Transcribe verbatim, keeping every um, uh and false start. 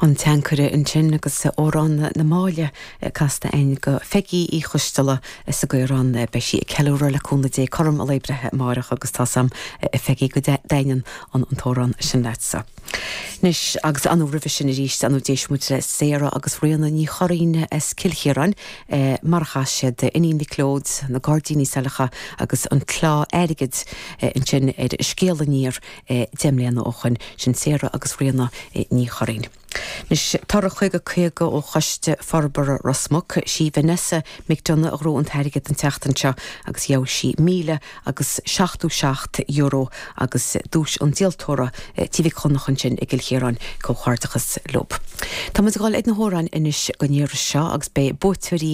An Teancaire ansin agus Amhrán na Máille casta againn do Pheigí Uí Choisteala sa gCaorán beidh sí ag ceiliúradh le cúnamh Dé cothrom a lae breithe amárach agus tá sam a Pheigí go dtaitníonn an an t-amhrán sin leatsa. Anois agus an roimhe sin arís an d'éist muid le Sarah agus Ríona Ní Churraoin as Cill Chiaráin eh, mar a chas siad Iníon Mhic Leoid na Gairdíní Saileacha agus an Clár Airgid eh, ansin ar Scéal Aniar eh, deich mbliana ó shin sin Sarah agus Ríona Ní Churraoin. Anois toradh caoga caoga ó Choiste Forbartha Ros Muc sí Vanessa McDonough a ghnóthaigh an t-airgead an tseachtain seo agus gheobhaidh sí míle agus seachtó seacht euro agus duais an díoltóra Tí Mhic Chonchúir sin i gCill Chiaráin comhghairdeachas leo. Tá muid ag dul ag na hamhráin anois don iarraidh seo agus beidh buaiteoirí